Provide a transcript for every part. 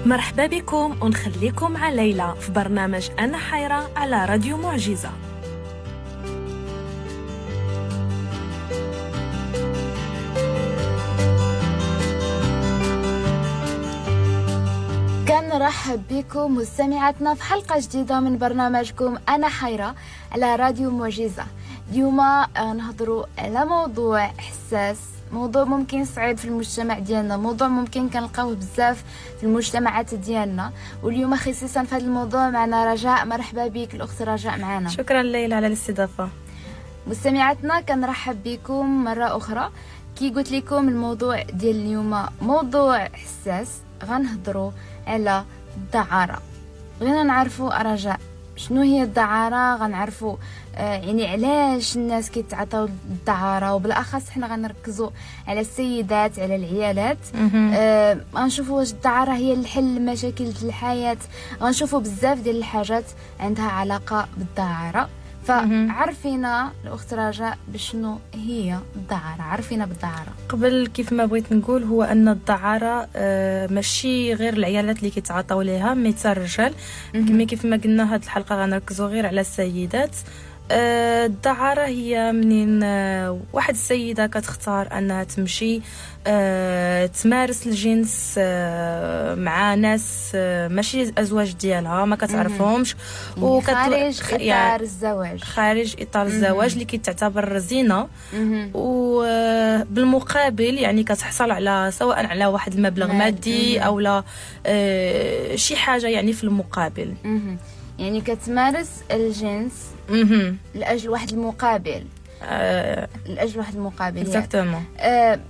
مرحبا بكم ونخليكم مع ليلى في برنامج أنا حيرة على راديو معجزة. كنرحب بكم مستمعاتنا في حلقة جديدة من برنامجكم أنا حيرة على راديو معجزة. اليوم نهضروا على موضوع حساس، موضوع ممكن صعيب في المجتمع ديالنا، موضوع ممكن كنلقاوه بزاف في المجتمعات ديالنا. واليوم خصيصا في هذا الموضوع معنا رجاء. مرحبا بك الأخت رجاء معنا. شكرا ليلى على الاستضافة. مستمعاتنا كنرحب بكم مرة أخرى. كي قلت لكم الموضوع ديال اليوم موضوع حساس، غنهضروا على الدعارة. بغينا نعرفوا رجاء شنو هي الدعارة، غنعرفوا يعني علاش الناس كيتعاطاو الدعارة، وبالأخص حنا غنركزوا على السيدات، على العيالات. غنشوفوا واش الدعارة هي الحل لمشاكل الحياة. غنشوفوا بزاف ديال الحاجات عندها علاقة بالدعارة. فعرفينا الأخت رجاء بشنو هي الدعارة، عرفينا بالدعارة. قبل كيف ما بغيت نقول هو أن الدعارة ماشي غير العيالات اللي كيتعاطاو ليها، mais حتى الرجال. كما كيف ما قلنا هاد الحلقة غنركزوا غير على السيدات. الدعارة هي منين واحد السيدة كتختار أنها تمشي تمارس الجنس مع ناس ماشي الأزواج ديالها، ما كتعرفهمش، خارج إطار يعني الزواج، خارج إطار الزواج اللي كتعتبر زينة، وبالمقابل يعني كتحصل على سواء على واحد المبلغ مادي أو لا شي حاجة يعني في المقابل. يعني كتمارس الجنس لأجل واحد المقابل. لأجل واحد المقابل. Exactement.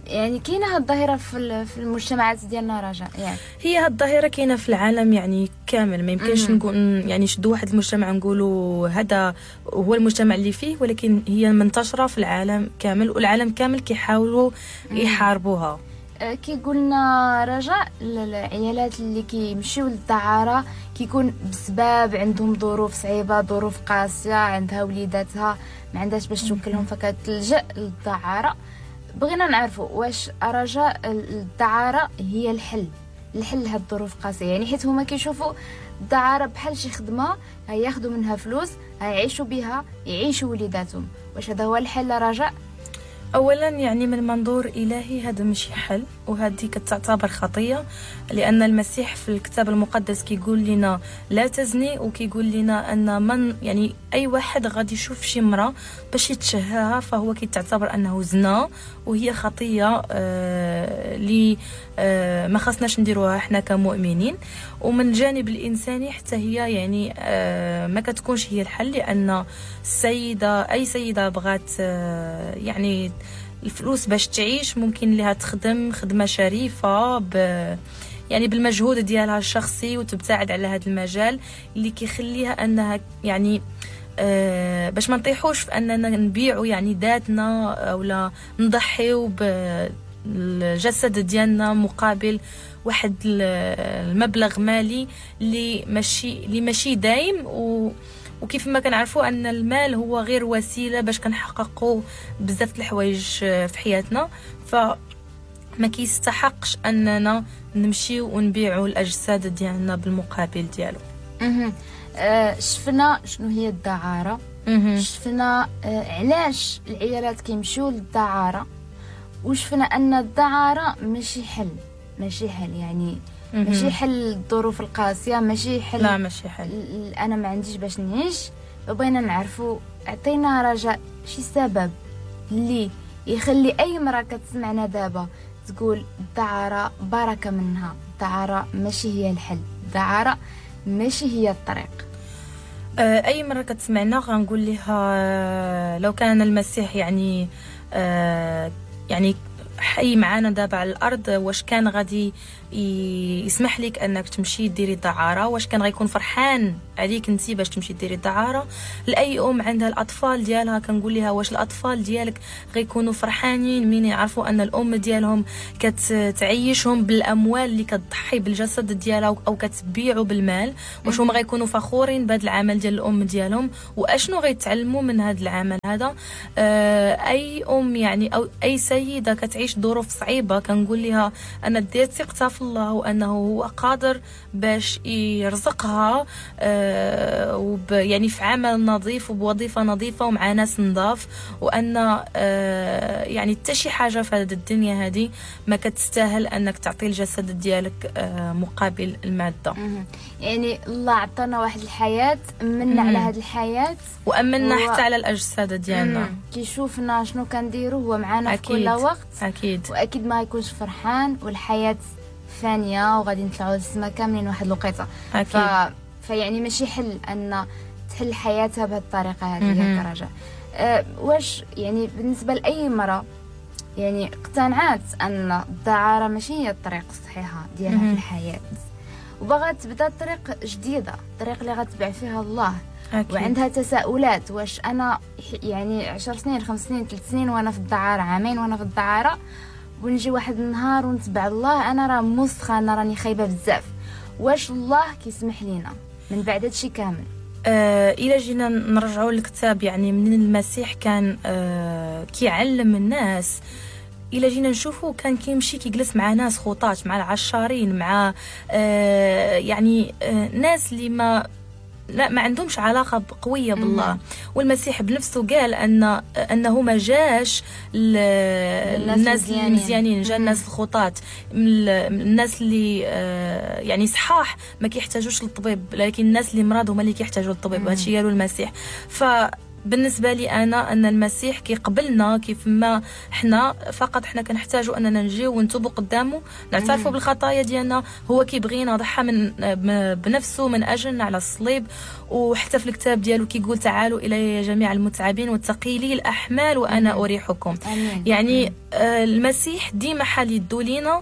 يعني كاينه هاد الظاهرة في المجتمعات ديالنا رجاء؟ يعني هي هاد الظاهرة كاينه في العالم يعني كامل، ما يمكنش نقول يعني شدوا واحد المجتمع نقولوا هذا هو المجتمع اللي فيه، ولكن هي منتشرة في العالم كامل، والعالم كامل كيحاولوا يحاربوها. كي قلنا رجاء، العيالات اللي كيمشيو للدعارة كيكون بسبب عندهم ظروف صعيبة، ظروف قاسية، عندها وليداتها ما عندهاش باش توكلهم، فكتلجأ للدعارة. بغينا نعرفوا واش رجاء الدعارة هي الحل، الحل لهاد الظروف القاسية؟ يعني حيت هما كيشوفوا الدعارة بحال شي خدمة هياخدوا منها فلوس، هيعيشوا بها، يعيشوا وليداتهم. واش هذا هو الحل رجاء؟ اولا يعني من منظور الهي هذا ماشي حل، وهذه كتعتبر خطيه، لان المسيح في الكتاب المقدس كيقول لنا لا تزني، وكيقول لنا ان من يعني اي واحد غادي يشوف شي امراة باش يتشهاها فهو كيتعتبر انه زنا، وهي خطيه اللي ما خصناش نديروها حنا كمؤمنين. ومن الجانب الانساني حتى هي يعني ما كتكونش هي الحل، لان السيدة اي سيده بغات يعني الفلوس باش تعيش ممكن لها تخدم خدمة شريفه يعني بالمجهود ديالها الشخصي، وتبتعد على هذا المجال اللي كيخليها انها يعني باش ما نطيحوش في اننا نبيعوا يعني ذاتنا ولا نضحيو بالجسد ديالنا مقابل واحد المبلغ مالي اللي ماشي دايم. وكيف ما كنعرفوا ان المال هو غير وسيلة باش كنحققوا بزاف الحوايج في حياتنا، فما كيستحقش اننا نمشيو ونبيعوا الاجساد ديالنا بالمقابل ديالو. شفنا شنو هي الدعاره، شفنا علاش العيالات كيمشيو للدعاره، وشفنا ان الدعاره ماشي حل، ماشي حل يعني ماشي حل الظروف القاسية، ماشي حل، لا ماشي حل، انا ما عنديش باش نعيش. بغينا نعرفوا، عطينا رجاء شي سبب اللي يخلي اي امراة كتسمعنا دابا تقول الدعاره بركة منها، الدعاره ماشي هي الحل، الدعاره ماشي هي الطريق. اي مرة كتسمعنا غنقول لها لو كان المسيح يعني يعني حي معانا دابا على الارض، واش كان غادي يسمح لك انك تمشي ديري الدعاره؟ واش كان غيكون فرحان عليك انت باش تمشي ديري الدعاره؟ لاي ام عندها الاطفال ديالها كنقول لها واش الاطفال ديالك غيكونوا فرحانين من يعرفوا ان الام ديالهم كتعيشهم بالاموال اللي كتضحي بالجسد ديالها او كتبيعوا بالمال؟ واش هما غيكونوا فخورين بهذا العمل ديال الام ديالهم؟ واشنو غيتعلموا من هذا العمل هذا؟ اي ام يعني او اي سيده كتعيش ظروف صعيبة كنقول لها انا دير ثقتها في في الله وانه هو قادر باش يرزقها يعني في عمل نظيف وبوظيفه نظيفة ومع ناس نظاف، وان يعني حتى شي حاجة في هذه الدنيا هذه ما كتستاهل انك تعطي الجسد ديالك مقابل المادة. يعني الله عطانا واحد الحياة، امنا على هذه الحياة وامنا حتى على الاجساد ديالنا. كيشوفنا شنو كنديرو، هو معنا في كل وقت. اكيد، واكيد ما يكونش فرحان، والحياة فانيه وغادي نطلعوا للسما كاملين واحد الوقيته. فيعني ماشي حل ان تحل حياتها بهذه الطريقة هذه يا رجاء. واش يعني بالنسبة لاي امراة يعني اقتنعت ان الدعاره ماشي هي الطريق الصحيحة ديالها في الحياة، وبغات تبدا طريق جديدة، الطريق اللي غتبع فيها الله. أكيد. وعندها تساؤلات، واش انا يعني 10 سنين، 5 سنين، 3 سنين وانا في الدعاره، عامين وانا في الدعاره، ونجي واحد النهار ونتبع الله، انا راه مسخه، انا راني خايبة بزاف. واش الله كيسمح لينا من بعد هادشي كامل؟ الى جينا نرجعوا للكتاب، يعني من المسيح كان كيعلم الناس. الى جينا نشوفوا كان كيمشي كيجلس مع ناس خطاة، مع العشارين، مع يعني ناس اللي ما عندهمش علاقة قوية بالله. والمسيح بنفسه قال أنه ما جاش الناس المزيانين، جا الناس الخطاة، الناس اللي يعني صحاح ما كيحتاجوش للطبيب، لكن الناس اللي مرض هما اللي كيحتاجوا للطبيب. وهادشي قالوا المسيح. فبالنسبة لي أنا أن المسيح كيقبلنا كيف ما حنا، فقط حنا كنحتاجوا أننا نجيو ونتوبوا قدامه، نعترفوا بالخطايا ديالنا. هو كيبغينا، ضحى من بنفسه من أجلنا على الصليب. وحتى في الكتاب ديالو كيقول تعالوا إلي جميع المتعبين والثقيلي الأحمال وأنا أريحكم. يعني المسيح ديما حال يدو لينا،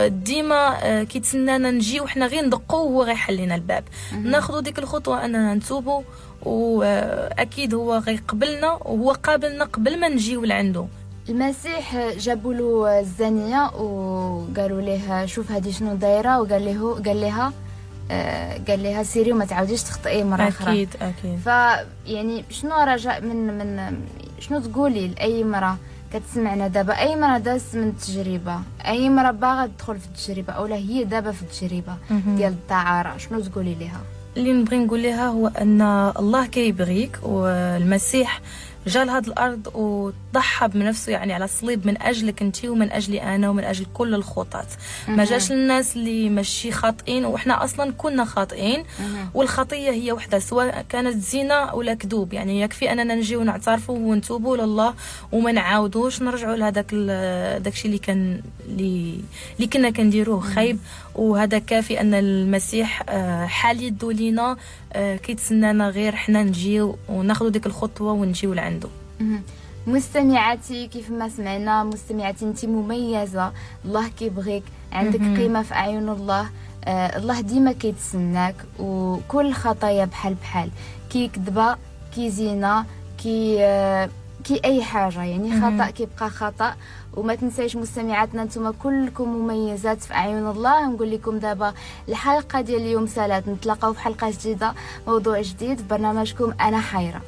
ديما كيتسنانا نجي وحنا غير ندقو وهو غيحل لنا الباب. ناخذ ديك الخطوة أننا نتوبوا، واكيد هو غيقبلنا، وهو قابلنا قبل ما نجيو لعنده. المسيح جابوا له الزانية وقالوا له شوف هذه شنو دايرة، وقال له قال لها سيري وما تعاوديش تخطئي مرة اخرى. اكيد اكيد. فيعني شنو رجاء من شنو تقولي لاي امراة كتسمعنا دابا، اي امراة دازت من التجربة، اي امراة باغا تدخل في التجربة او لا هي دابا في التجربة ديال الدعاره، شنو تقولي لها؟ اللي نبغي نقول لها هو ان الله كيبغيك، والمسيح جا لهاد الارض وضحى بنفسه يعني على الصليب من اجلك انت ومن اجلي انا ومن اجل كل الخطاة. ما جاش للناس اللي ماشي خاطئين، وحنا اصلا كنا خاطئين. والخطيه هي وحده، سواء كانت زنا ولا كذوب. يعني يكفي اننا نجيو ونعترفوا ونتوبوا لله وما نعاودوش نرجعوا لهذاك داكشي اللي كان اللي كنا كنديروه خايب. وهذا كافي ان المسيح حال يدو لينا، كيتسنانا غير حنا نجيو وناخذ ديك الخطوة ونجيو لعنده. مستمعاتي كيف ما سمعنا، مستمعاتي انت مميزة، الله كيبغيك، عندك قيمة في اعين الله. الله ديما كيتسناك، وكل خطايا بحال بحال، كي كذبه، كي زينة، كي اي حاجة، يعني خطا كيبقى خطا. وما تنسايش مستمعاتنا نتوما كلكم مميزات في اعين الله. نقول لكم دابا الحلقة ديال اليوم سالات، نتلاقاو في حلقة جديدة، موضوع جديد في برنامجكم انا حيره.